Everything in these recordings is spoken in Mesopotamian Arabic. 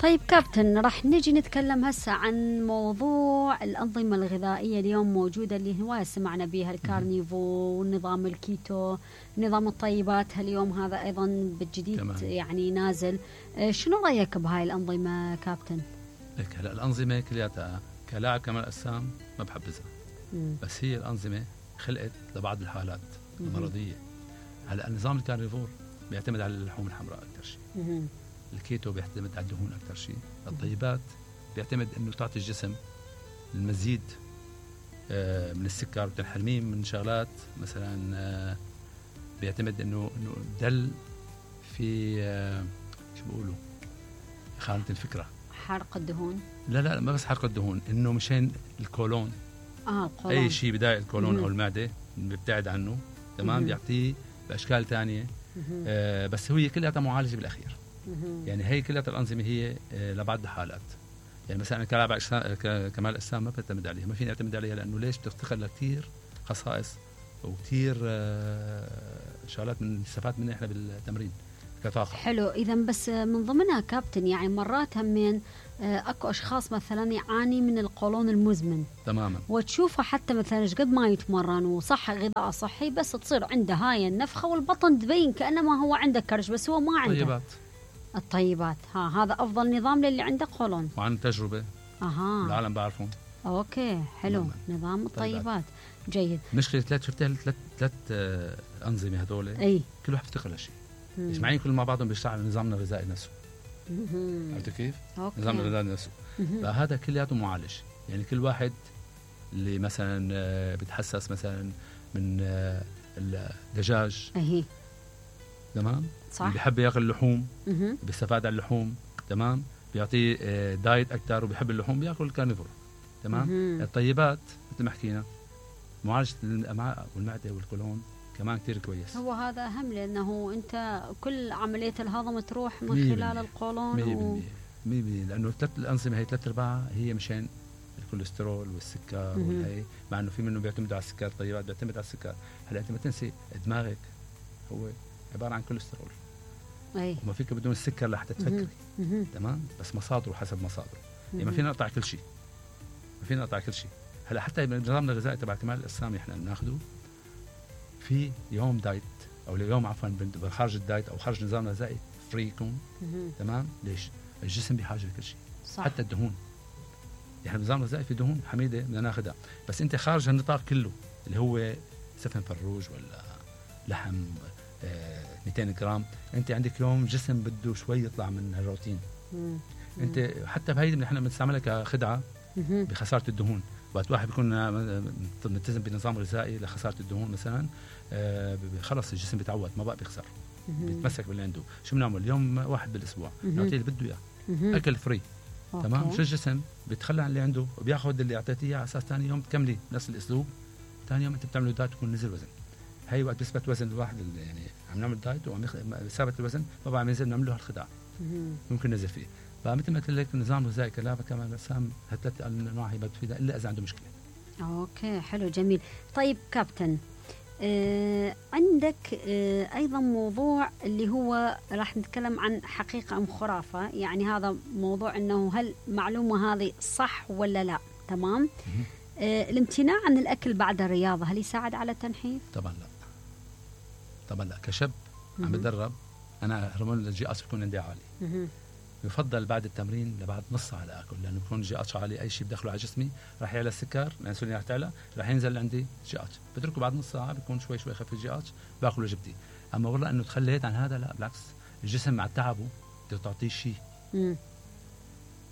طيب كابتن، راح نجي نتكلم هسه عن موضوع الأنظمة الغذائية اليوم موجودة اللي هواية سمعنا بيها، الكارنيفو والنظام الكيتو، نظام الطيبات اليوم هذا أيضا بالجديد تمام. يعني نازل. شنو رأيك بهاي الأنظمة كابتن؟ لك هلا الأنظمة كلياتها كلاعب كمال أجسام ما بحبذها، بس هي الأنظمة خلقت لبعض الحالات المرضية. هلا نظام الكارنيفور بيعتمد على اللحوم الحمراء أكثر شيء، الكيتو بيعتمد على الدهون أكثر شيء، الطيبات بيعتمد إنه تعطي الجسم المزيد من السكر وتنحرميه من شغلات مثلا بيعتمد إنه دل في شو بيقولوا خانة الفكرة، حرق الدهون. لا ما بس حرق الدهون، إنه مشان الكولون. القولون. أي شيء بداية الكولون أو المعدة بيبتعد عنه، تمام. بيعطيه بأشكال تانية. بس هي كلها معالجة بالأخير. يعني هي كلها الأنظمة هي لبعض الحالات. يعني مثلا كلاعب كمال أجسام ما بعتمد عليها، ما فيني أعتمد عليها، لأنه ليش بتفتقر لكثير خصائص وكثير شغلات من نستفاد منها إحنا بالتمرين كطاقة. حلو. إذا بس من ضمنها كابتن يعني مرات همين اكو اشخاص مثلا يعاني من القولون المزمن تماما، وتشوفه حتى مثلا قد ما يتمرن وصح غذاء صحي بس تصير عنده هاي النفخه والبطن تبين كانما هو عنده كرش بس هو ما عنده. طيبات. الطيبات هذا افضل نظام للي عنده قولون. وعن تجربه العالم بعرفهم. اوكي حلو. نظام الطيبات جيد. مشكله شفتها ثلاث انظمه هذول، اي كل واحد بيفتقر لشيء، مجمعين كل مع بعضهم بيشتغل على نظامنا الغذائي نفسه. عرفت كيف؟ نظام الغذاء نفسه. فهذا كلياته معالج. يعني كل واحد اللي مثلا بتحسس مثلا من الدجاج، تمام، صح، اللي بيحب ياكل اللحوم بيستفاد على اللحوم، تمام، بيعطيه دايت اكثر وبيحب اللحوم بياكل الكارنيفور، تمام. الطيبات مثل ما حكينا معالجه الامعاء والمعده والقولون كمان كتير كويس. هو هذا أهم لأنه أنت كل عملية الهضم تروح من خلال القولون 100% لأنه الأنظمة هي 3/4 هي مشان الكوليسترول والسكر والهي، مع أنه في منه بيعتمدوا على السكر، الطيبات بيعتمد على السكر. هلا أنت ما تنسي دماغك هو عبارة عن كوليسترول، وما فيك بدون السكر لحتى تفكري، تمام، بس مصادره حسب مصادره. يعني ما فينا نقطع كل شيء، هلا حتى بنظامنا الغذائي تبع كمال الأجسام احنا بناخده في يوم دايت او اليوم عفوا خارج الدايت او خارج نظامنا الغذائي فري يكون، تمام. ليش؟ الجسم بحاجه لكل شيء، حتى الدهون. يعني النظام الغذائي في دهون حميده بدنا ناخذها، بس انت خارج النطاق كله اللي هو سفن فروج ولا لحم 200 جرام، انت عندك يوم جسم بده شوي يطلع من الروتين. انت حتى بهيدي نحن بنستعملها كخدعه بخساره الدهون. وقت واحد بيكون ملتزم بنظام غذائي لخساره الدهون مثلا، خلص الجسم بيتعود ما بقى بيخسر، بيتمسك باللي عنده. شو بنعمل؟ يوم واحد بالاسبوع نعطيه اللي بده اياه، اكل فري، تمام. شو الجسم بيتخلى عن اللي عنده وبياخذ اللي اعطيتيه اياه على اساس ثاني يوم تكملي نفس الاسلوب. ثاني يوم انت بتعملوا دايت ويكون نزل وزن. هي وقت بيثبت وزن الواحد يعني عم نعمل دايت وعم ثابت الوزن ما بقى عم ينزل، نعمل له هالخدعه ممكن ننزل فيه. فمثل ما قلت لك النظام الغذائي كلابه كمان اجسام هالثلاث انواع هي بتفيدها الا اذا عنده مشكله. اوكي حلو جميل. طيب كابتن، عندك ايضا موضوع اللي هو راح نتكلم عن حقيقه ام خرافه، يعني هذا موضوع انه هل معلومه هذه صح ولا لا، تمام. الامتناع عن الاكل بعد الرياضه هل يساعد على التنحيف؟ طبعا لا. كشاب عم بتدرب انا هرمون الجي اتش بيكون عندي عالي، يفضل بعد التمرين لبعد نص ساعه لاكل، لانه بكون جي اتش عالي، اي شيء بدخله على جسمي راح يعلى السكر، الانسولين راح تعلى، راح ينزل عندي جي اتش. بتركه بعد نص ساعه بيكون شوي خفيف الجي اتش، باكل وجبتي. اما والله انه تخليت عن هذا لا، بالعكس، الجسم مع تعبه بده تعطيه شيء،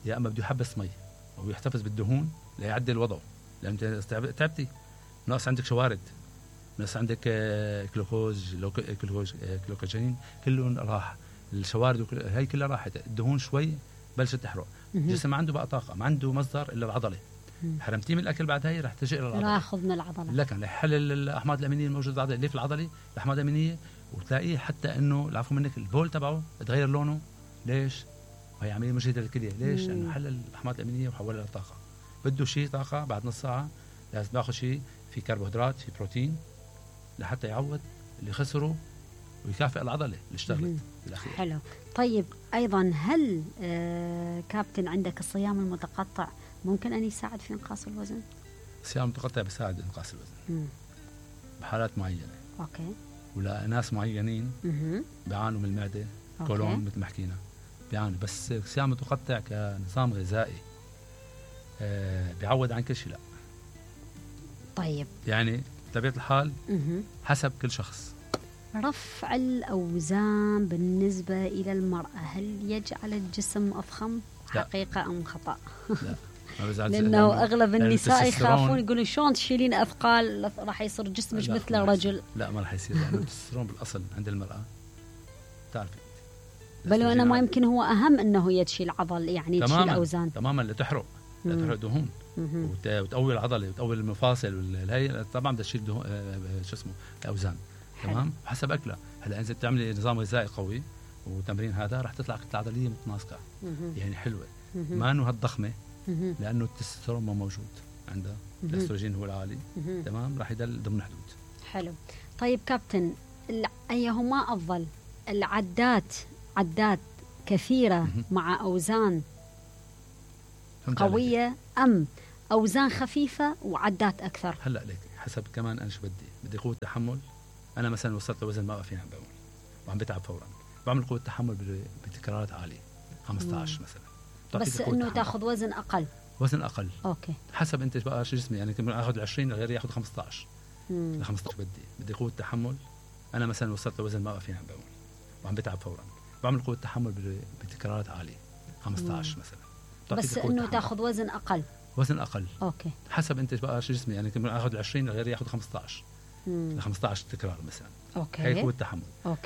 يا اما بده يحبس مي او يحتفظ بالدهون ليعدل وضعه، لان انت تعبتي، ناقص عندك شوارد، ناقص عندك جلوكوجين كله راح، الشوارد هي كلها راحت، الدهون شوي بلشت تحرق. الجسم ما عنده بقى طاقه، ما عنده مصدر الا العضله. حرمتيه من الاكل بعد هي راح تجي الى العضله، راح ياخذ من العضله، لكن يحلل الاحماض الامينيه الموجوده بالعضله اللي في العضله، الاحماض الامينيه، وتلاقيه حتى انه العفو منك البول تبعه تغير لونه. ليش؟ وهي عمليه مجهده للكليه. ليش؟ لانه حلل الاحماض الامينيه وحولها لطاقه. بده شيء طاقه بعد نص ساعه، لازم ياخذ شيء في كربوهيدرات، في بروتين، لحتى يعوض اللي خسره ويكافئ العضله اللي اشتغلت بالاخير. حلو. طيب ايضا هل كابتن عندك الصيام المتقطع ممكن ان يساعد في انقاص الوزن؟ الصيام المتقطع بيساعد انقاص الوزن بحالات معينه. اوكي. ولا ناس معينين بيعانوا من المعده، كولون مثل ما حكينا بيعانوا، بس الصيام المتقطع كنظام غذائي بيعوض عن كل شيء. لا طيب يعني بطبيعه الحال حسب كل شخص. رفع الأوزان بالنسبة إلى المرأة هل يجعل الجسم أضخم؟ لا. حقيقة أم خطأ؟ لا لأنه أغلب النساء يخافون يقولون شلون تشيلين أثقال راح يصير جسمك مثل الرجل. لا ما راح يصير، لأنه التستوستيرون بالأصل عند المرأة تعرفي بل وأنا ما يمكن هو أهم أنه هي تشيل عضل يعني تشيل أوزان تماما لتحرق دهون وتقوي العضله وتقوي المفاصل والهي طبعا بدها تشيل شو اسمه اوزان. تمام حسب اكلها. هلا اذا بتعملي نظام غذائي قوي وتمرين هذا راح تطلع كتله عضليه متناسقه يعني حلوه ما انه هالضخمه لانه التستوستيرون ما موجود عندها، الاستروجين هو العالي. تمام راح يضل ضمن حدود. حلو. طيب كابتن ايهما افضل؟ عدات كثيره مع اوزان قويه ام اوزان خفيفه وعدات اكثر؟ هلا ليك حسب كمان انا شو بدي قوه تحمل. انا مثلا وصلت لوزن ما بقى فيني عم بقول وعم بتعب فورا، بعمل قوه تحمل بتكرارات عاليه 15 مثلا. بس انه تاخذ وزن اقل. اوكي. حسب انت بقى شو جسمي، يعني يمكن اخذ 20 غيري ياخذ 15. ل 15 بدي قوه تحمل. انا مثلا وصلت لوزن ما بقى فيني عم بقول وعم بتعب فورا، بعمل قوه تحمل بتكرارات عاليه 15 مثلا. بس انه تاخذ وزن اقل. اوكي. حسب انت بقى شو جسمي، يعني يمكن اخذ 20 غيري ياخذ 15. ل 15 تكرار مثلا. اوكي. هي قوه تحمل. اوكي.